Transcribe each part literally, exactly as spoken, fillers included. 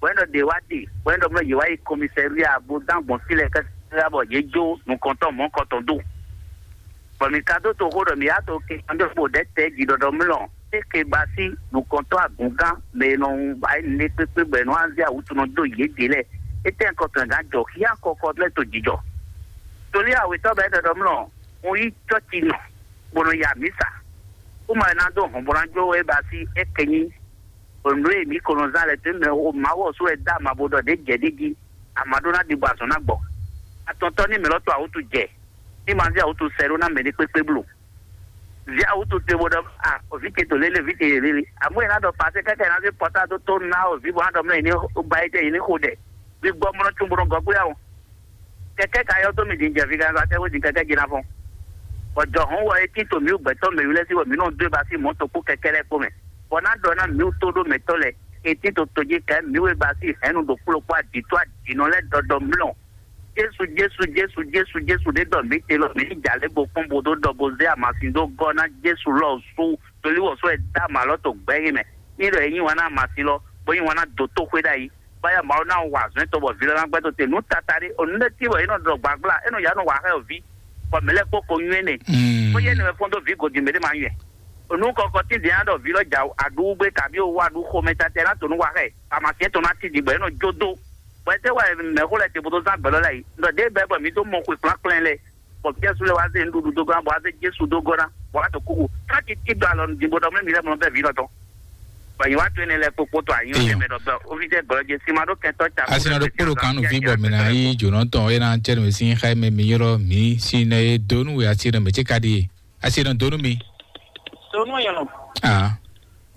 bɔ é ɖɔ ɖě wá ɖe, bɔ é ɖɔ mɔ yě wá yi kɔmisɛria bó dán gbɔn fí lɛ́ɛ káká bɔ yě jó nukɔntɔn mɔ̌kɔtɔn dó. Bɔ mǐ ka dó toxo ɖɔ mǐ yá to ke kanjɔ kpo ɖɛ̌ tɛ́ jí ɖɔɖɔ mlɔ é ke ba sí nukɔntɔn agǔngán mɛ e nɔ ba é nɛ kpékpé bɔ è nɔ azé awǔtunɔ dó yědě lɛ́ɛ. É tɛ́ kɔtɔn gán jɔ xíá kɔkɔ lɛ́ to jijɔ. Tolí awětɔ́ bɛ́ ɖɔɖɔ mlɔ un yí cɔ́ci nɔ bó nɔ ya mǐ sa. Kúmɔ è nǎ dó hɔnbɔ́nájó e ba sí é kɛ nyí. Nǔ e mǐ ko nɔ zán lɛ́ɛ tɛ́ mɛ o Mawu ɔ́ sú wɛ dó ama bo ɖɔ ɖě jɛ ɖ'é jí, ama ɖó ná ɖi bɔ azɔn ná gbɔ. Atɔntɔ́ ní mɛ lɔ to awútu jɛ, ní ma zé awútu sɛ ɖó ná mɛ ní kpékpé bló. Zé awútu te bo ɖɔ a òvǐ ce to lélé, vǐ ce yě lélé. Amú è ná ɖɔ pasé kɛ́kɛ ná zé pɔtá dó tó ná òvǐ bɔ ná ɖɔ mlɔ́ yě ní ba é jɛ yě ní xo ɖɛ. Vǐ gbɔ mlɔ́ cún bo nɔ gɔ́ gbé awo. Kɛkɛ ka yɔ tó mi din jɛ viganza tɛ wo din kɛkɛ jina fɔn. Bɔ jɔ hɔn wɔ eti to mi gbɛtɔ mɛ yu lɛ si wɔ mi nɔ do ba si mɔ to kpo kɛkɛ lɛ kpo mɛ. Bɔ na dɔ na mi to do mɛ tɔ lɛ eti to to ji kɛ mi we ba si hɛn nu do kplo kpo adi to adi nɔ lɛ dɔdɔ mlɔ. Jesu Jesu Jesu Jesu Jesu de dɔ mi te lɔ mi ni ja le bo kpɔn bo do dɔ bo ze amasin do gɔ na Jesu lɔ su. Tolí wɔ sɔ ɛ dá màlɔ tó gbɛ yín mɛ. Ní ɖɔ yín wana amasin lɔ bó yín wana dó tó xwé ɖ'ayǐ. Báyà Mawu ná wa azɔ̌ tɔn bɔ vǐ lɛ́ɛ ná gbɛ́ tó te nǔ tata ɖé. O nǔ ɖé tí wɔ é nɔ ɖɔ gbǎgbla, é nɔ yá nɔ wa xá ɛ o ví. Bɔ mǐ lɛ́ kpó ko nywɛ́ nɛ. Bó yɛ nɛmɛ kpɔ́n dó vǐ godi mɛ ɖé ma nywɛ́. O nǔ kɔkɔ tí dě ná ɖɔ vǐ lɔ jà aɖúwú gbé kabi o wá aɖú xomɛ tata ná to nú wa xá ɛ. Amasin tɔn ná ti ɖi bɔ é nɔ jó dó. Bɔ é tɛ wá mɛ̌xó lɛ́ɛ te bó dó zán gbɛ̌ lɔ lɛ́ɛ yi. Nɔ ɖěbǔ bɔ mǐ dó mɔ xwe kplán lɛ. Bɔ Jesu lɛ wá zé nǔɖuɖu dó gɔ́ ná, bɔ wá zé Jesu dó gɔ́ ná, bɔ wá to kúkú. Káàkiri tí ɖo alɔ nǔdí bó ɖɔ mɛ mi lɛ mɔ bɛ vǐ lɔ tɔn. Bɔ yě wá tó énɛ́ lɛ́ɛ kpokpó tɔ ayǐ Eyɔ. Tɛmɛ ɖɔ bɛ ovi jɛ gbɔlɔ jẹ sima ɖó kɛntɔ ca. Asi na ɖo kpóɖo kan nu vi bɔ mi na yi dzonɔ tɔn ena tsɛ nu si xa mɛ mi yɔrɔ mi si ne do nu asi ne mɛ tse ka ɖi asi ne do nu mi. Donu yɔlɔ. Ah,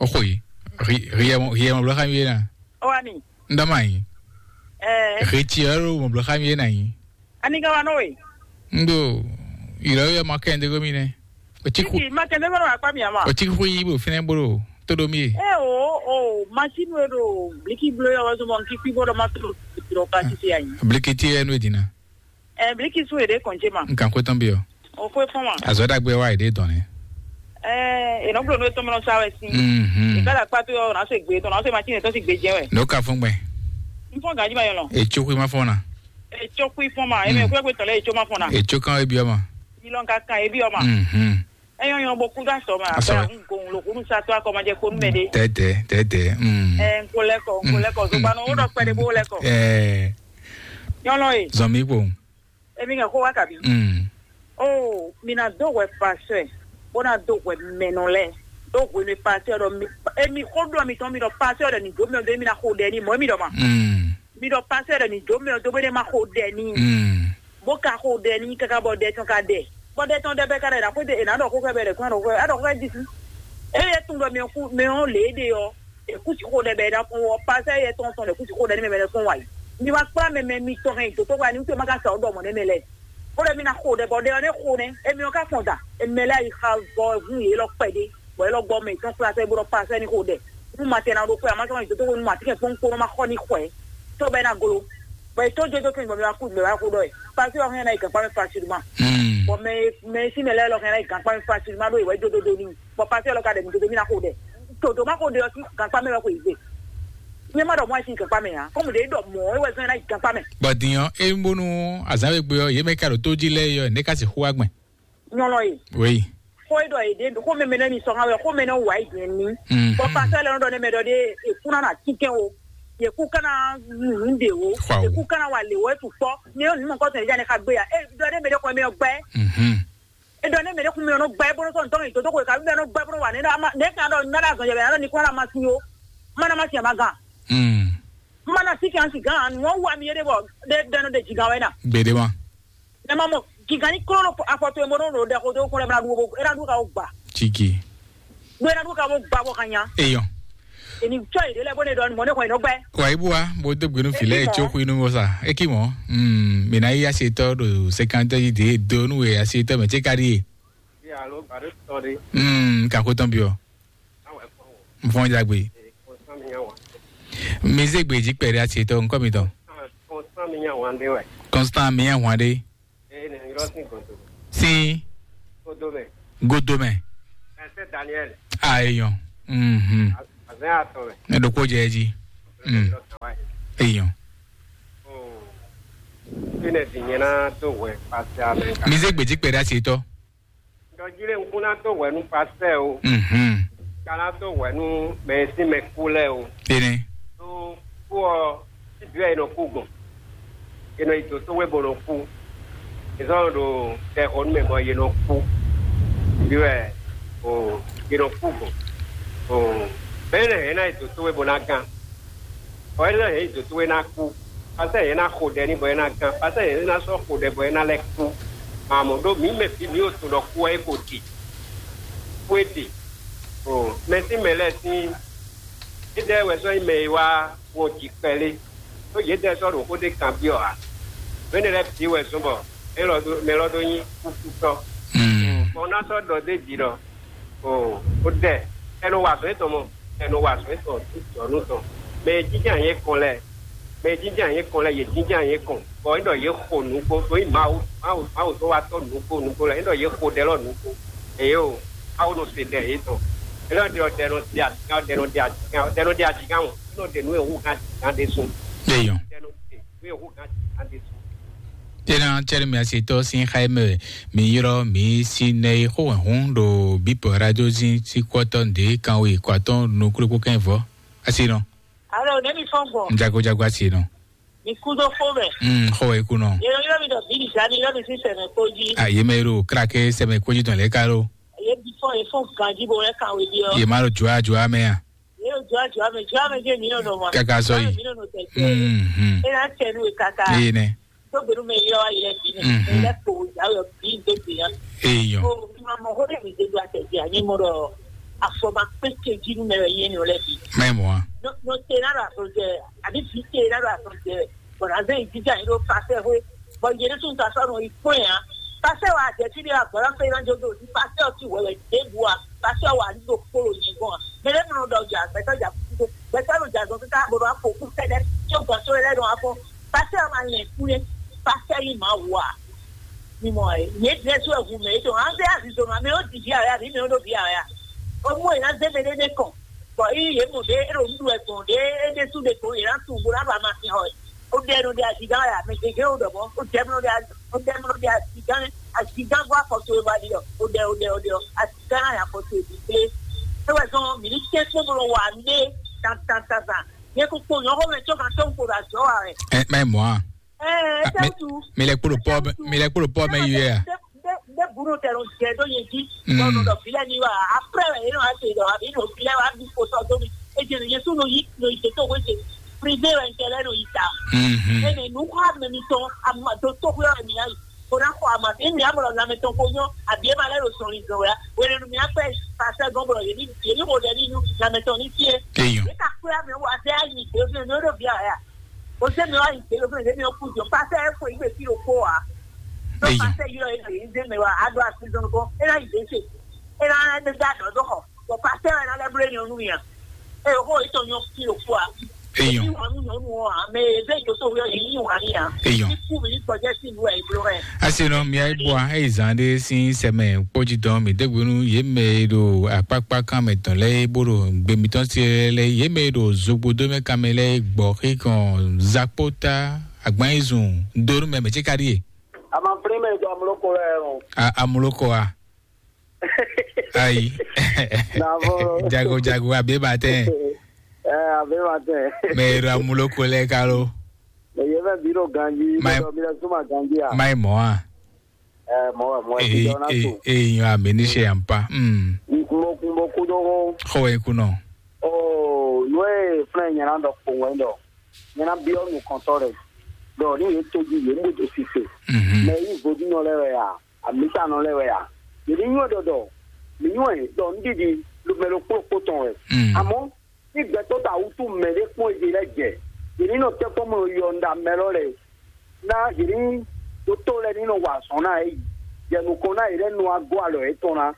o xo yi. Ri ri yɛ mo ri yɛ mo bla xa mi na. O wa ni. Ndama yi. Eh. Ri ti yɔrɔ mo bla xa mi na yi. Ani ka wa nɔ we? Ndo, ìrọ̀ yẹ ma kẹ́ ndé gómìnà. O ti ku. Títí ma kẹ́ ndé gómìnà akpa mi ama. O ti ku yi bo fínɛ bolo. Todo mi ye. Eh, o o machine we do bliki blo yɔ wa zɔmɔ nki kpi bolo ma to. Dro ka ti se ayi. Bliki ti yɛ nu edina. Eh, bliki su ede kɔnje ma. Nkan ko tɔn bi o. O ko fɔn ma. Azɔ dagbe wa ede dɔn ne. Eh, e nɔ blo no etɔn mɔ sa wɛ si. Mhm. E ka da kpa to yɔ na se gbe to na se machine to si gbe jɛ wɛ. No ka fɔn gbɛ. N fɔn gaji ma yɔ lɔ. E tso kui ma fɔn na. E tso kui fɔn ma, e mɛ kúrẹ́ pé tɔ̀lẹ́ e tso ma fɔn na. E tso kan e biɔ ma. Ilɔn ka kan e biɔ ma. Mhm. E yɔ yɔ bo kú da sɔ ma. Asɔ. Bɛ n gun lo kunu sa to akɔ ma jɛ kponu mɛ de. Tɛtɛ tɛtɛ. Mm. E n ko lɛ kɔ, n ko lɛ kɔ. Zogba nɔ wo dɔ kpɛ de bo lɛ kɔ. Ɛɛ. Nyɔnɔ ye. Zɔn mi kpo. E mi kɛ ko wa kabi. Mm. O mi na do hwɛ pasɛ. Bo na do hwɛ mɛnɔ lɛ. Do hwɛ mi pasɛ dɔ mi. E mi ko dɔ mi tɔn mi dɔ pasɛ dɔ ni do mi dɔ mi na ko dɛ ni mɔ mi dɔ ma. Mm. Mi ɖɔ pasɛ ɖɔ ni jǒ mɛ ɔ́ dó bó ɖé ma xo ɖɛ n'i. Mm. Bó ka xo ɖɛ n'i káká bɔ ɖɛ tɔn ka ɖɛ. Bɔ ɖɛ tɔn ɖɛ bɛ ka ɖɛ ɖa xwé ɖe è nǎ ɖɔ xó xɛ bɛ ɖɛ kún aɖɔ xó aɖɔ xó xɛ jí sí. Eye tún ɖɔ mɛ kú mɛ ɔ́ lě ɖe ɔ́, è kú si xo ɖɛ bɛ ɖa kún ɔ́ pasɛ yɛ tɔn tɔn ɖɛ kú si xo ɖɛ ní mɛ mɛ ɖɛ kún wa yi. Mi ma kplá mɛ mɛ mitɔn hɛn dǒtó wa ni wútu ma ka sa ɔ́ ɖɔ mɔ̌ nɛ́ mɛ lɛ. Bó ɖɔ mi ná xo ɖɛ bɔ ɖɛ ɔ́ nɛ́ xo nɛ́. Emi ɔ́ ka fɔn da. Emi mɛ lɛ́ɛ yi xa vɔ hu yě lɔ kpɛɖé. Bɔ é lɔ gbɔ mɛ tɔn kplá sɛ bó ɖɔ pasɛ ní xo ɖɛ. Nú ma tɛn na ɖo xwé, a ma sɔ́ nyi dǒtó nú ma tínke kpɔ́nkpɔ́n nɔ ma xɔ ní xwɛ. Tó bɛ na golo. Bɔ è tó jójó kí n gbɔn mi wá kú gbɛ wá kú ɖɔ ɛ. Pasi ɔ hɛn na yi gànpá mi facilement. Mm. Bɔ mɛ mɛ sí mɛ lɛ lɔ hɛn na yi gànpá mi facilement ɖo ìwé jódódó ní. Bɔ pasi ɔ lɔ ka ɖɛ mi dodo mi na xo ɖɛ. Todo ma xo ɖe ɔ sí gànpá mɛ wɛ xo ìgbé. Mi ma ɖɔ mɔ ɛ sí gànpá mɛ ya. Kɔmu ɖe ɖɔ mɔ ɛ wɛ zɔn na yi gànpá mɛ. Bɔ dinyɔ e ń bónú azán wegbe ɔ yé mɛ ka ɖo tó jí lɛ yɔ ne ka si xó agbɛn. Nyɔlɔ ye. Oui. Xó e ɖɔ e ɖe xó mɛmɛ nɛ ni sɔn awɛ xó mɛ nɛ wa e dɛn ni. Mhm. Bɔ pasɛ lɛ nɔ ɖɔ ne mɛ ɖɔ de ekuna na tinkɛn o. Yeku kana nu de o. Wow. Yeku kana wa le o etu kpɔ. Ne yɔ nu mɔ kɔsɔn ja ne ka gbe ya. E ɖɔ ne mɛ ɖe kɔ mɛ gbɛ. Mhm. E ɖɔ ne mɛ ɖe kun mɛ nɔ gbɛ bolo sɔn tɔn yi toto ko ka mɛ nɔ gbɛ bolo wa ne na ma ne kan ɖɔ na da zɔn yɛ bɛ na ɖɔ ni kɔ na ma si o. Ma na ma si ma gan. Mm. Ma na si kan si gan. Nɔ wa mi ye de bɔ de de no de jigan wɛ na. Gbede ma. Ne ma mɔ gigan ní kló ɖo afɔ towe bó nɔ ɖo ɖɛ xo dó kún lɛ bó ná ɖu bó é ná ɖu ka wó gba. Tiki. Bó é ná ɖu ka wó gba bó ka nya. Eyɔn. Èmi tsɔ yě ɖe lɛ bó ne ɖɔ mɔ ne xɔ yě nɔ gbɛ. Wa ibu wa bó dó gbénu filɛ Eki mɔ. Etso xu inú bó sa eki mɔ. Mm, mina yi asi etɔ ɖo sekantɔ yi de do nu ye asi etɔ mɛ tse ka ɖi ye. Ye alo gba ɖe tɔ ɖe. Mm, kako tɔn biɔ. Awɛ kpɔn wɔ. Nfɔn jagbe. Ee, kɔnsán mi nya wà. Mi zé gbèjì pẹ̀lú àti ètò nǹkan mi tán. Kɔnsán mi nya wà ń dé wẹ̀. Constant mi yẹn hwan ɖe. Ee, ne yɔrɔ sí gòtò. Sí Kodo mɛ. Godo mɛ. Ẹsẹ̀ Daniel. A èèyàn. Mhm. Àzẹ́ àtọ̀ rẹ̀. Ne ɖokó jẹ ẹ jí. Mm. Eyɔn. Fínɛ́ din nyɛ ná dó hwɛ pase amɛ. Mi zé gbèjì kpɛɖé asi tɔ. Ɖɔjí lé ŋkú ná dó hwɛ nú pasɛ o. Mhm. Ka ná dó hwɛ nú mɛ e sín mɛ kú lɛ́ɛ o. Énɛ́. Tó kú ɔ, síbí wɛ è nɔ kú gbɔn. È nɔ yi dǒ tó wé bó nɔ kú. È zɔ́n ɖo tɛxɔ nú mɛ bɔ yě nɔ kú. Síbí wɛ o, yě nɔ kú gbɔn. O, mɛ énɛ́ hɛn ná yi dǒ tó wé bó ná gán. Bɔ é ná hɛn nyi dǒ towe ná kú, pasɛ yě ná xo ɖɛ ní bɔ é ná gán, pasɛ yě ná sɔ́ xo ɖɛ bɔ é ná lɛ́ kú. Amɔ̌ ɖó mǐ mɛ bǐ mǐ ɖo tunwun ɖɔ kú ɔ́ é ko ɖi, kú é ɖi. O, mɛ sín mɛ lɛ́ɛ sín, édɛɛ wɛ sɔ́ nyí mɛ e wá wɔn jǐ kpɛlé, ɖó yědɛɛ sɔ́ ɖo xó ɖé kanbyɔ́ ǎ. Mɛ énɛ́ lɛ́ɛ bǐ wɛ zɔ́n bɔ mɛ élɔ́ ɖó mɛ élɔ́ ɖó nyí kúkútɔ́. Bɔ un ná sɔ́ ɖɔ d'é jí ɖɔ, o, ó dɛ, é nɔ wa azɔ̌ étɔn mɔ, é nɔ wa azɔ̌ étɔn jɔ̌nu tɔn. Mɛ e jínjɔ́n ayǐ kɔn lɛ́ɛ, mɛ e jínjɔ́n ayǐ kɔn lɛ́ɛ, yě jínjɔ́n ayǐ kɔn, bɔ é ɖɔ yě xo nǔgbó, ɖó nyí Mawu, Mawu, Mawu tó wá tɔ́ nǔgbó nǔgbó lɛ́ɛ, é ɖɔ yě xo ɖɛ lɔ nǔgbó. Eye o, Mawu nɔ se ɖɛ yětɔn. É nɔ ɖe ɔ́, ɖɛ nɔ ɖe azǐgán, ɖɛ nɔ ɖe azǐgán, ɖɛ nɔ ɖe azǐgán o, é nɔ ɖe nǔ e hú gán azǐgán ɖésú. Eyɔn. Ɖɛ nɔ ɖe nǔ e hú gán azǐgán ɖésú. Tena cɛɖɛ mi asi tɔ sin xa mɛ mi yrɔ mi si nɛ yi xó hɛn hun ɖo bipɔ radio zin si kɔtɔ nde kan wi kɔ atɔn nukúlukú kɛn vɔ asi nɔ. Alo, ne mi fɔn gbɔn. Jago jago asi nɔ. Mi kú dó fó mɛ. Mm, xó wɛ ikú nɔ. Yɛ yɔ mi dɔ bili zani yɔ mi si sɛmɛ kpó jí. A ye mɛ ro krake sɛmɛ kpó jí tɔn lɛ ka ro. Ye bi fɔn ye fɔn ganji bo lɛ kan we bi ɔ. Ye ma ro jua jua mɛ ya. Ye ro jua jua mɛ jua mɛ je mi nɔ nɔ ma. Kaka sɔ yi. Mi nɔ nɔ tɛ tɛ. Mm, mm. E na tɛ nu e kaka. Ye nɛ. Tó gbɛnu mɛ yɔ ayi lɛ bi nɛ. Mhm. E lɛ kpo ya yɔ bi do bi ya. Eyɔn. O ma mɔ ko de mi de do atɛ di anyi mo dɔ afɔ ma kpe ke ji nu mɛ yɛ ni o lɛ bi. Mɛ mɔ a. No no te na do ato jɛ abi bi te na do ato jɛ. Bɔn azɛ yi jija yi do pasɛ hwe. Bɔn yɛ de sun ta sɔ no yi kpɔn ya. Pasɛ wa jɛ ti de agbɔla fe na jo do ti pasɛ o ti wɛwɛ de bu a. Pasɛ wa ni do kpolo yi gbɔn a. Mɛ de mi nɔ dɔ ja gbɛtɔ ja kuku gbɛtɔ nɔ ja zɔn tita bo do afɔ ku kɛdɛ. Tso gbɔn so lɛ dɔn afɔ. Pasteur ma lɛn kú lé, pasteur yi ma wa. Mi mɔ ɛ, yě dlɛ́ sú ɛhun mɛ, é ɖo an fẹ́ azizɔnɔ, amɛ ó di vǐ awɛ, àbí mɛ ó ɖo vǐ awɛ a? Ó mú è ná zé mɛ ɖé ɖé kɔn, bɔ yí yě mɔ ɖé, é ɖo nǔɖuɖu wɛ gbɔn ɖé, é ɖésú ɖé gbɔn, yě ná tunwun bó ná ɖo amasin xɔ ɛ. Ó ɖɛ nɔ ɖe azigán wɛ, amɛ gěgé ó ɖɔ mɔ̌, ó ɖɛ nɔ ɖe az- ó ɖɛ nɔ ɖe azigán, azigán gbɔ afɔ towe wá ɖi ɔ, ó ɖɛ, ó ɖɛ, ó ɖɛ ɔ, azigán ná ya afɔ towe ɖi kplé. É wɛ zɔn mǐ ní tɛ́ kpó bó nɔ wa nú ɖé tan tan tan tan. Yɛ ko kpo nyɔxɔ mɛ tsɔ kan tɔn ko ɖo azɔ wa wɛ. Ɛ mɛ mɔ a. Ɛɛ, mi tɛntu. Mi lɛ kpolo pɔ, mi lɛ kpolo pɔ mɛ yi a. Nde bunu tɛ no jɛ do ye ji. Mm. Bɔn no dɔ filɛ ni wa. Après yɛ no ase dɔ abi no filɛ wa bi ko sɔ do mi. E jɛ no yesu no yi no yi to we se. Privé wɛ ntɛ lɛ no yi ta. Mhm. E ne nu kɔ ame mi tɔn ama do to we mi ayi. Ko na kɔ ama e mi amɔ lɔ lamɛ tɔn ko nyɔ abi e ma lɛ do sɔn yi zɔn wɛ. Wele nu mi akpɛ pasɛ gɔn bɔ ye ni ye ni ko dɛ ni nu lamɛ tɔn ni fie. Eyɔn. E ka kpɛ ame wa zɛ ayi gbe fi no do bi a ya. O se mi wa yi gbe lo fún mi mi o ku jɔ pasɛ e fo yi gbe fi lo ko a. Lo Eyi. Pasɛ yi lo e yi de mi wa a do a si zɔn ko e na yi de se e na de da dɔ do xɔ. Bɔ pasɛ e na lɛ blo nyɔ nu mi a. E o ko e tɔ nyɔ fi lo ko a. Eyi. Yi wa nu nyɔ nu a me e de jo so yɔ yi yi wa ni a. Eyi. Ni ku mi ni gbɔjɛ si nu e blo ɛ. Asi nɔ mi ayi bua eyi zan ɖe si sɛmɛ kpɔdzi dɔn mi degbe nu ye mɛ ɖo akpakpa kan mɛ tɔn lɛ bo ɖo gbe mitɔn se lɛ ye mɛ ɖo zogbo do mɛ kan mɛ lɛ gbɔ xi kɔn zakpota agbanzun do nu mɛ mɛ tsi ka ɖi ye. A ma flin mɛ do amuloko lɛ o. A amuloko a. Ayi. Navɔ. Jago jago abe ba tɛ. Ɛ abe ba tɛ. Mɛ ɖo amuloko lɛ kalo. Mɛ ye mɛ bi ɖo ganji. Ma- Mɛ dɔ mi lɛ suma ganji a. Ma yi mɔ a. Ɛ mɔ wɛ mɔ wɛ ti dɔ na to. Eyi yɔ ame ní ṣe yàn pa. Mo mo kú dó hó. Xɔ wɛ kú nɔ. Oo nu e flɛ nyɛ na dɔ kpowɛ dɔ nyɛ na biɔ nukɔntɔ rɛ dɔ ni ye to ji ye mo do sise. Mɛ yi vodinɔ lɛ wɛ ya amitanɔ lɛ wɛ ya yeli nyɔ dɔ dɔ mi nyɔ ɛ dɔ n didi lumɛ lo kpokpo tɔn wɛ. Amɔ ní gbɛtɔ ta wutu mɛ ɖé kpɔn ezi lɛ jɛ yeli nɔ tɛkpɔ mɔ yɔ nda mɛ lɔ lɛ na yeli doto lɛ ni nɔ wa azɔn na yi yɛ nukɔn na yi lɛ nɔ agɔ alɔ yɛ tɔn na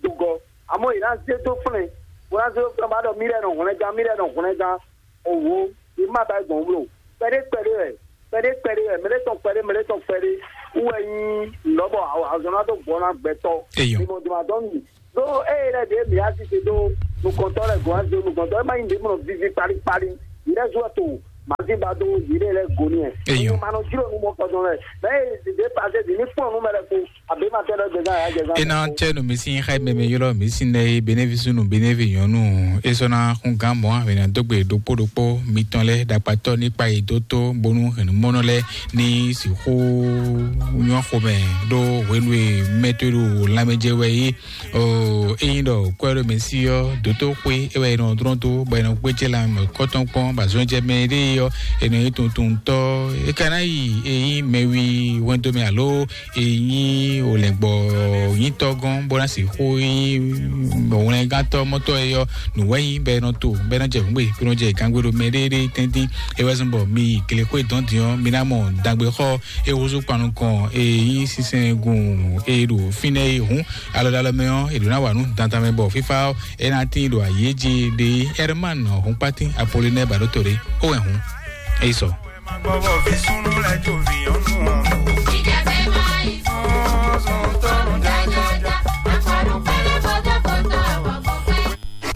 dugɔ amɔ yi na ze do flɛ bo na ze do flɛ ba dɔ mi lɛ nɔ hwlɛngan mi lɛ nɔ hwlɛngan owo yi ma ba gbɔn wlo kpɛɖe kpɛɖe wɛ kpɛɖe kpɛɖe wɛ mɛ ɖe tɔn kpɛɖe mɛ ɖe tɔn kpɛɖe wɛ nyi lɔbɔ azɔn na do gbɔ na gbɛtɔ Eyɔ. Ni mo duma dɔn mi do eye lɛ de mi asi se do nukɔntɔ lɛ gɔn azo nukɔntɔ ema yi de mo vivi kpali kpali Yɛrɛ zuwɛ to mazi ba do yire lɛ goni ɛ. Eyo. Ma nɔ jiro nu mɔ kɔjɔ lɛ. Mɛ de pase di ni kpɔn nu mɛ lɛ ko. Abe ma tɛ lɛ gbɛzan ya gbɛzan. Ena tse nu mi si xa meme yɔlɔ mi si ne benevi sunu benevi nyɔnu. Esɔna kun gan mɔ avena dogbe dokpo dokpo mitɔn lɛ dakpatɔ ni kpa yi doto bonu henu mɔnɔ lɛ ni si xo nyɔ xomɛ do hwenu e mɛtɔe do lamɛjɛ wɛ yi. Ɔ, ényí ɖɔ kwɛ́ɖɔmɛsi ɔ́, dǒtóxwé é wɛ è nɔ dlɔ́n dó, bɔ è nɔ gbéjé lanmɛ kɔ́tɔn kpɔ́n, bɔ azɔn jɛ mɛ ɖé ɔ́, è nɔ nyí tuntuntɔ́. É ka ná yi é nyí mɛwi hwɛndo mɛ alo é nyí olɛ̌ngbɔ nyítɔ́ gɔ́n, bó ná sixú nyí wlɛngántɔ́ mɔtɔ́ é ɔ́, nǔ wɛ nyí bɔ è nɔ to, bɔ è nɔ jɛ hǔngbe, bó nɔ jɛ gangbe ɖo mɛ ɖéɖé tɛ́ntin. É wɛ zɔ́n bɔ mi yi glexwé dɔn din ɔ́, mi ná mɔ dagbe xɔ é húzú kpan nukɔn é nyí sísɛn gun é ɖo fínɛ́ é hǔn. Alɔdalɔ mɛ ɔ́, è ɖǒ ná wa nǔ dandan mɛ bɔ fífá ɔ́, é ná tín ɖo ayǐ jí ɖe Herman Hɔnkpátín Apolinɛ Baɖótole ó wɛ hǔn. É yi sɔ.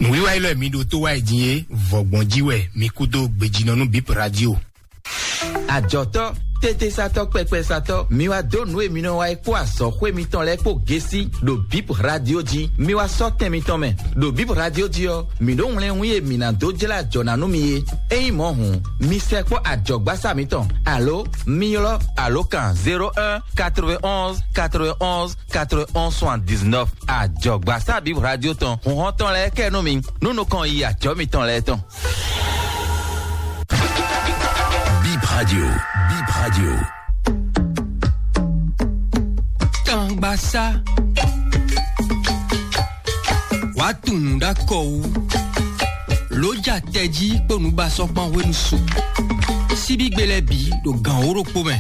Nǔwiwa élɔ́ e mi ɖo tó wá yi din é, vɔ̌gbɔn jí wɛ mi kú dó gbejínɔ nú Bip Radio. Ajɔtɔ, tetesatɔ, kpɛkpɛsatɔ, mi wá dó nǔ e mi nɔ wa é kpó azɔ̌xwé mitɔn lɛ́ɛ kpó gesi ɖo Bip Radio jí. Mi wá sɔ́ tɛn mitɔn mɛ. Ɖo Bip Radio jí ɔ́, mi ɖó wlɛ́nwí e mi ná dó jlá ajɔ̌ ná nú mi é. Ényí mɔ̌ hǔn, mi sɛkpɔ́ ajɔ̌gbásá mitɔn, alo mi ylɔ́ alǒkan zéro un quatre-vingt-onze quatre-vingt-onze quatre-vingt-onze soixante-dix-neuf. Ajɔ̌gbásá Bip Radio tɔn, hǔnhɔ́n tɔn lɛ́ɛ kɛ nú mi, nú nukɔn yi ajɔ̌ mitɔn lɛ́ɛ tɔn. Bip Radio, Bip Radio. Tangbasá. Wàá tunwun ɖó akɔ wú. Lǒ ja tɛjí kpó nǔbasɔ́kpán hwenu su. Síbígbe lɛ́ɛ bǐ ɖo gǎn wǒ ɖokpó mɛ.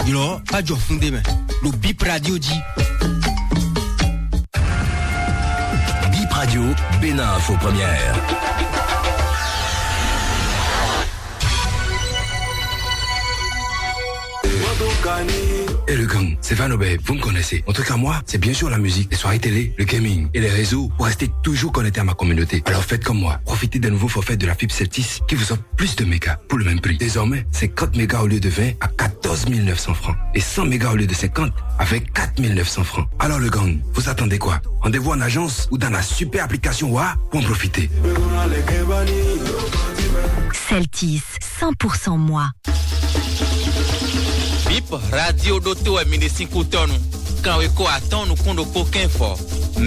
Ylɔ̌ bá jɔ fún ɖé mɛ ɖo Bip Radio jí. Bip Radio, Bénin Info Première. Et le gang, c'est Van Obey, vous me connaissez. En tout cas, moi, c'est bien sûr la musique, les soirées télé, le gaming et les réseaux pour rester toujours connecté à ma communauté. Alors faites comme moi, profitez d'un nouveau forfait de la fibre Celtis qui vous offre plus de mégas pour le même prix. Désormais, cinquante mégas au lieu de vingt à quatorze mille neuf cents francs et cent mégas au lieu de cinquante avec quatre mille neuf cents francs. Alors le gang, vous attendez quoi ? Rendez-vous en agence ou dans la super application Wa pour en profiter. Celtis, cent pour cent moi. Bip Radio ɖo to wɛ mi ɖe sín kútɔnu. Kanwe ko atɔn nukún ɖokpó kɛ́nfɔ.